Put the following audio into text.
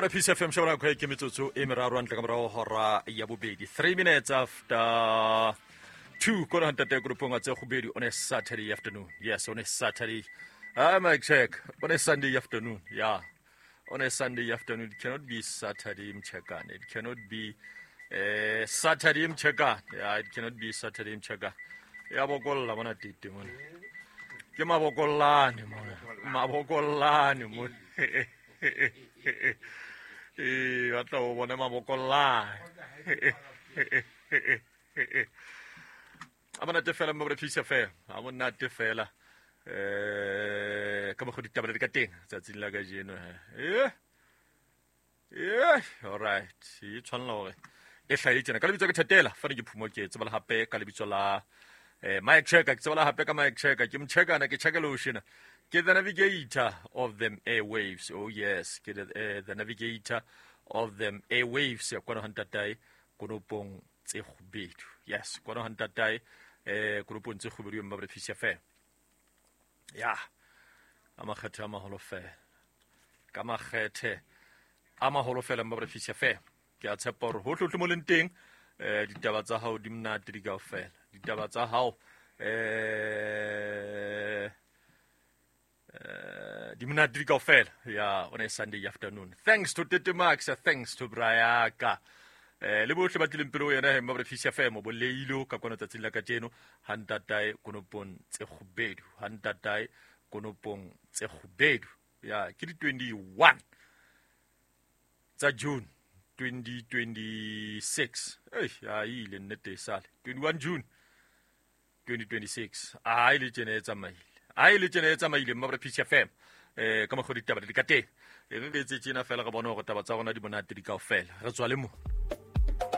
Mabra Peace FM shebana nako e ke metsotso e meraro ntle ka morago hora ya bobedi 3 minutes after 2 kona ntate grupong a tse gobedi on a Saturday afternoon. Yes, on a Saturday. Ah, my check. On a Sunday afternoon. Yeah. On a Sunday afternoon. It cannot be Saturday mchekane. It cannot be Saturday mchekane. Yeah, it cannot be Saturday mchekane. Ya bokolla bona tete mona. Ke mabokollane mona. Mabokollane mona. Ee, batla o bone mabokollane. A monate fela mo re fisa fela. A monate fela. Ka mokgwa ditaba di ka teng tsatsing la kajeno he. Eh. Eh, all right. E tshwanela hore e hlahe tjena. Ka lebitso ke Thetela, fane ke Phumo ke tsebala hape ka lebitso la Mike Checker, ke tsebala hape ka Mike Checker, ke mchekana ke checkela o shena. Ke the navigator of them airwaves. Oh yes, ke the navigator of them airwaves. Ya kwana hantatae konopong tse kgubedu. Yes, kwana hantatae konopong tse kgubedu mma re fisa fela. Ya. A makgethe a maholo fela. Ka makgethe a maholo fela mma re fisa fela. Ke a tshepa hore hohle hohle mo leng teng ditaba tsa hao di monate di kaofela. Ditaba tsa hao di monate di kaofela. Ya, on a Sunday afternoon. Thanks to Tete Max, thanks to Brayaka. Le bohle ba tlileng pele ho yena he mma re fisa femo bo leilo ka kwana tsatsing la kajeno ha ntatae konopong tse kgubedu, ha ntatae konopong tse kgubedu. Ya, ke di 21 tsa June 2026. Ei, a ile nnete e sale 21 June 2026. A ile tjena e tsamaile, a ile tjena e tsamaile mma re fisa femo ka mokgwa ditaba di ka teng. E re re etse tjena fela re bone hore taba tsa rona di monate di kaofela. Re tswa le mo.